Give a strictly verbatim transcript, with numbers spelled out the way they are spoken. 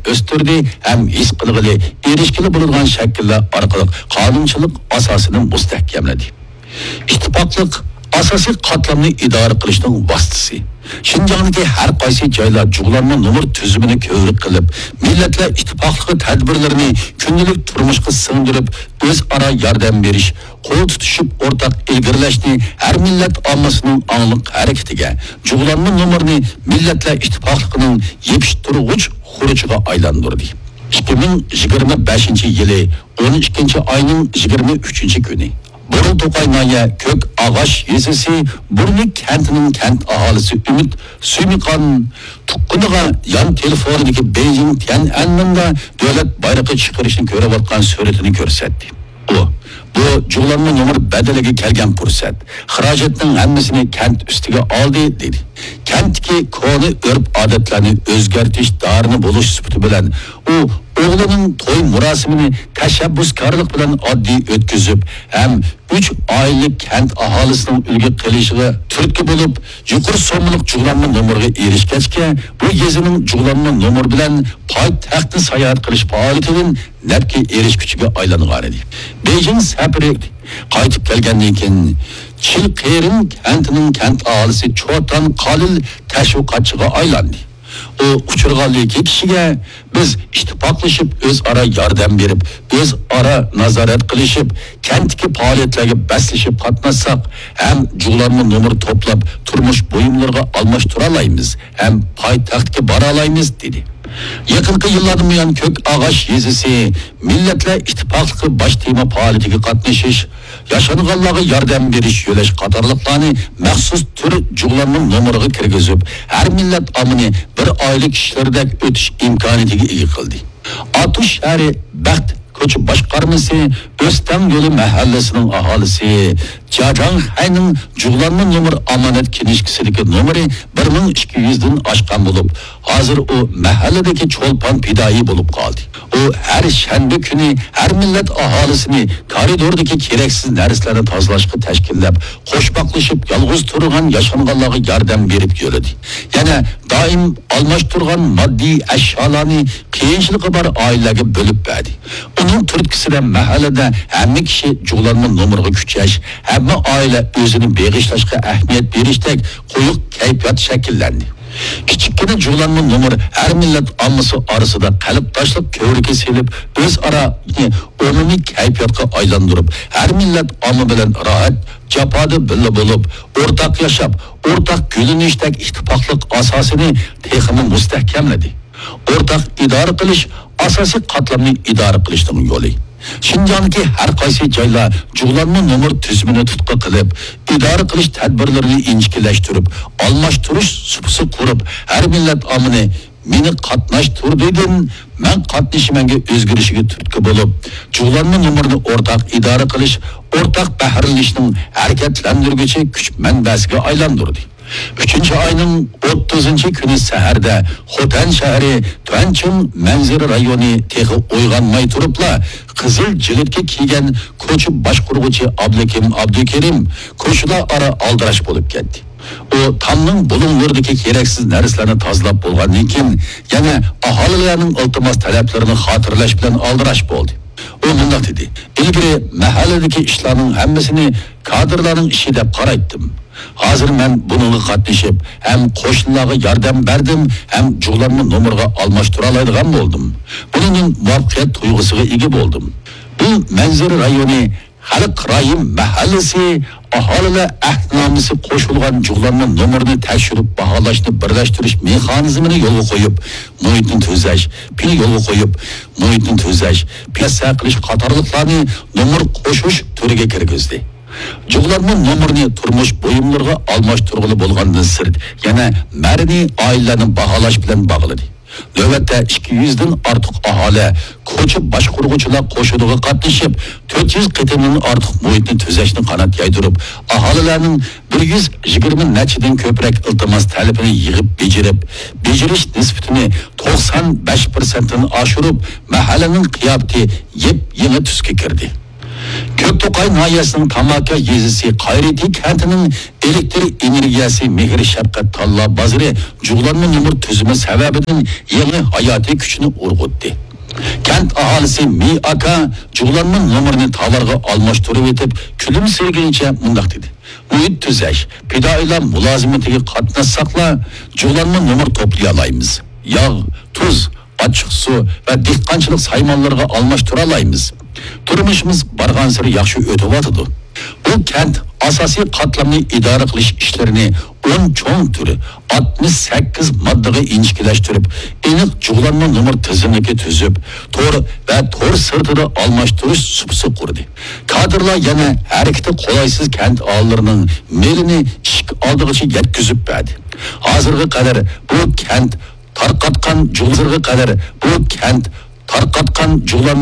ئۆستۈردى ھەم ھېس قىلغىلى، ئېرىشكىلى بولىدىغان شەكىللەر ئارقىلىق قانۇنچىلىق ئاساسىنى مۇستەھكەملىدى. ئىتتىپاقلىق ئاساسىي قاتلامنى ئىدارە قىلىشنىڭ ۋاسىتىسى. شىنجاڭدىكى ھەر قايسى جايلار جۇغلانما نومۇر تۈزۈمىنى كۆۋرۈك قىلىپ، مىللەتلەر ئىتتىپاقلىقى تەدبىرلىرىنى كۈندىلىك تۇرمۇشقا سىڭدۈرۈپ، ئۆزئارا ياردەم بېرىش، قول تۇتۇشۇپ ئورتاق ئىلگىرىلەشنى ھەر مىللەت ئاممىسىنىڭ ئاڭلىق ھەرىكىتىگە، جۇغلانما نومۇرنى مىللەتلەر ئىتتىپاقلىقىنىڭ يېپىشتۇرغۇچ خۇرۇچىغا ئايلاندۇردى. ئىككى مىڭ يىگىرمە بەشىنچى يىلى ئون ئىككىنچى ئاينىڭ يىگىرمە ئۈچىنچى كۈنى بۇرۇلتۇقاي ناھىيە كۆك ئاغاش يېزىسى بۇرنى كەنتىنىڭ كەنت ئاھالىسى ئۈمىد سۈيمىقان تۇغقىنىغا يان تېلېفونىدىكى بېيجىڭ تيەنئەنمېندا دۆلەت بايرىقى چىقىرىشنى كۆرۈۋاتقان سۈرىتىنى كۆرسەتتى. ئۇ، بۇ جۇغلانما نومۇر بەدىلىگە كەلگەن پۇرسەت. خىراجەتنىڭ ھەممىسىنى كەنت ئۈستىگە ئالدى، دېدى. كەنتتىكى كونا ئۆرپ-ئادەتلەرنى ئۆزگەرتىش دارىنى بولۇش سۈپىتى بىلەن، ئۇ ئوغلىنىڭ توي مۇراسىمىنى تەشەببۇسكارلىق بىلەن ئاددىي ئۆتكۈزۈپ ھەم ئۈچ ئائىلىلىك كەنت ئاھالىسىنىڭ ئۈلگە قىلىشىغا تۈرتكە بولۇپ، يۇقىرى سوممىلىق جۇغلانما نومۇرغا ئېرىشكەچكە، بۇ يېزىنىڭ جۇغلانما نومۇر بىلەن پايتەختنى ساياھەت قىلىش پائالىيىتىدىن نەپكە ئېرىشكۈچىگە ئايلانغانىدى. بېيجىڭ سەپىرى قايتىپ كەلگەندىن كېيىن، چىلقېرىن كەنتىنىڭ كەنت ئاھالىسى چوتان قالىل تەشۋىقاتچىغا ئايلاندى. ئۇ ئۇچرىغانلىكى كىشىگە، بىز ئىتتىپاقلىشىپ، ئۆزئارا ياردەم بېرىپ، ئۆزئارا نازارەت قىلىشىپ، كەنتتىكى پائالىيەتلەرگە بەسلىشىپ قاتناشساق ھەم جۇغلانما نومۇر توپلاپ، تۇرمۇش بۇيۇملىرىغا ئالماشتۇرالايمىز ھەم پايتەختكە بارالايمىز، دېدى. يېقىنقى يىللاردىن بۇيان كۆك ئاغاش يېزىسى مىللەتلەر ئىتتىپاقلىقى باش تېما پائالىيىتىگە قاتنىشىش، ياشانغانلارغا ياردەم بېرىش يۆلەش قاتارلىقلارنى مەخسۇس تۈر جۇغلانما نومۇرىغا كىرگۈزۈپ، ھەر مىللەت ئاممىنى بىر ئائىلە كىشىلىرىدەك ئۆتۈش ئىمكانىيىتىگە ئىگە قىلدى. ئاتۇش شەھىرى بەخت كوچا باشقارمىسى ئۆستەڭ يولى مەھەللىسىنىڭ ئاھالىسى جاجاڭ خەينىڭ جۇغلانما نومۇر ئامانەت كىنىشكىسىدىكى نومۇرى بىر مىڭ ئىككى يۈزدىن ئاشقان بولۇپ، ھازىر ئۇ مەھەللىدىكى چولپان پىدائىي بولۇپ قالدى. ئۇ ھەر شەنبە كۈنى ھەر مىللەت ئاھالىسىنى كارىدوردىكى كېرەكسىز نەرسىلەرنى تازىلاشقا تەشكىللەپ، قوشماقلىشىپ يالغۇز تۇرغان ياشانغانلارغا ياردەم بېرىپ يۈردى. يەنە دائىم ئالماشتۇرغان ماددىي ئەشيالارنى قىيىنچىلىقى بار ئائىلىلەرگە بۆلۈپ بەردى. ئۇنىڭ تۈرتكىسىدە مەھەللىدە ھەممە كىشى جۇغلانما نومۇرغا كۈچەش، ھەممە ئائىلە ئۆزىنى بېغىشلاشقا ئەھمىيەت بېرىشتەك قويۇق كەيپىيات شەكىللەندى. كىچىككىنە جۇغلانما نومۇر ھەر مىللەت ئاممىسى ئارىسىدا قەلبداشلىق كۆۋرۈكى سېلىپ، ئۆزئارا ئومۇمىي كەيپىياتقا ئايلاندۇرۇپ، ھەر مىللەت ئامما بىلەن راھەت، جاپادا بىللە بولۇپ، ئورتاق ياشاپ، ئورتاق گۈللىنىشتەك ئىتتىپاقلىق ئاساسىنى تېخىمۇ مۇستەھكەملىدى. ئورتاق ئىدارە قىلىش ئاساسىي قاتلامنى ئىدارە قىلىشنىڭ يولى. شىنجاڭدىكى ھەر قايسى جايلار جۇغلانما نومۇر تۈزۈمىنى تۇتقا قىلىپ، ئىدارە قىلىش تەدبىرلىرىنى ئىنچىكىلەشتۈرۈپ، ئالماشتۇرۇش سۇپىسى قۇرۇپ، ھەر مىللەت ئاممىنى مېنى قاتناشتۇردىدىن مەن قاتنىشىمەنگە ئۆزگىرىشىگە تۈرتكە بولۇپ، جۇغلانما نومۇرنى ئورتاق ئىدارە قىلىش، ئورتاق بەھرىلىنىشنىڭ ھەرىكەتلەندۈرگۈچى كۈچ مەنبەسىگە ئايلاندۇردى. ئۈچىنچى ئاينىڭ ئوتتۇزىنچى كۈنى سەھەردە خوتەن شەھىرى تۈەنچىڭ مەنزىرە رايونى تېخى ئويغانماي تۇرۇپلا، قىزىل جىلىتكە كىيگەن كوچا باشقۇرغۇچى ئابلىكىم ئابدۇكېرىم كوچىلار ئارا ئالدىراش بولۇپ كەتتى. ئۇ تامنىڭ بۇلۇڭلىرىدىكى كېرەكسىز نەرسىلەرنى تازىلاپ بولغاندىن كېيىن، يەنە ئاھالىلەرنىڭ ئىلتىماس تەلەپلىرىنى خاتىرىلەش بىلەن ئالدىراش بولدى. ئۇ مۇنداق دېدى، ئىلگىرى مەھەللىدىكى ئىشلارنىڭ ھەممىسىنى كادىرلارنىڭ ئىشى دەپ قارايتتىم. ھازىر مەن بۇنىڭغا قاتنىشىپ، ھەم قوشنىلارغا ياردەم بەردىم، ھەم جۇغلانما نومۇرغا ئالماشتۇرالايدىغان بولدۇم. بۇنىڭدىن مۇۋەپپەقىيەت تۇيغۇسىغا ئىگە بولدۇم. بۇ مەنزىرە رايونى خەلق رايىم مەھەللىسى ئاھالىلەر ئەھدىنامىسى قوشۇلغان جۇغلانما نومۇرنى تەكشۈرۈپ باھالاشنى بىرلەشتۈرۈش مېخانىزمىنى يولغا قويۇپ، مۇھىتنى تۈزەش، پىل يولغا قويۇپ، مۇھىتنى تۈزەش، پىياسە قىلىش قاتارلىقلارنى نومۇر قوشۇش تۈرىگە كىرگۈزدى. جۇغلانما نومۇرنى تۇرمۇش بۇيۇملىرىغا ئالماشتۇرغىلى بولغاندىن سىرت، يەنە مەدەنىي ئائىلىلەرنى باھالاش بىلەن باغلىدى. نۆۋەتتە ئىككى يۈزدىن ئارتۇق ئاھالە كوچا باشقۇرغۇچىلار قوشۇنىغا قاتنىشىپ، تۆت يۈز قېتىمدىن ئارتۇق مۇھىتنى تۈزەشنى قانات يايدۇرۇپ، ئاھالىلەرنىڭ بىر يۈز يىگىرمە نەچچىدىن كۆپرەك ئىلتىماس تەلىپىنى يىغىپ بېجىرىپ، بېجىرىش نىسبىتىنى توقسان بەش پىرسەنتتىن ئاشۇرۇپ، مەھەللىنىڭ قىياپىتى يېپ-يېڭى تۈسكە كىردى. كۆكتوقاي ناھىيەسىنىڭ تاماكا يېزىسى قايرىتى كەنتىنىڭ ئېلېكتر ئېنېرگىيەسى مېھىر شەپقەت تاللا بازىرى جۇغلانما نومۇر تۈزۈمى سەۋەبىدىن يېڭى ھاياتىي كۈچنى ئۇرغۇتتى. كەنت ئاھالىسى مى ئاكا جۇغلانما نومۇرنى تالارغا ئالماشتۇرۇۋېتىپ، كۈلۈمسىرىگىنىچە مۇنداق دېدى: مۇھىت تۈزەش، پىدائىيلار مۇلازىمىتىگە قاتناشساقلا، جۇغلانما نومۇر توپلىيالايمىز. ياغ، تۇز، ئاچچىق سۇ ۋە دېھقانچىلىق سايمانلىرىغا ئالماشتۇرالايمىز. تۇرمۇشىمىز بارغانسېرى ياخشى ئۆتۈۋاتىدۇ. بۇ كەنت ئاساسىي قاتلامنى ئىدارە قىلىش ئىشلىرىنى ئون چوڭ تۈر، ئاتمىش سەككىز ماددىغا ئىنچىكىلەشتۈرۈپ، ئېنىق جۇغلانما نومۇر تىزىملىكى تۈزۈپ، تور ۋە تور سىرتىدا ئالماشتۇرۇش سۇپىسى قۇردى. كادىرلار يەنە ھەرىكىتى قولايسىز كەنت ئاھالىلىرىنىڭ مېلىنى ئىشىك ئالدىغىچە يەتكۈزۈپ بەردى. ھازىرغا قەدەر بۇ كەنت تارقاتقان جۇغلىرىغا قەدەر بۇ كەنت تارقاتقان جۇغلانما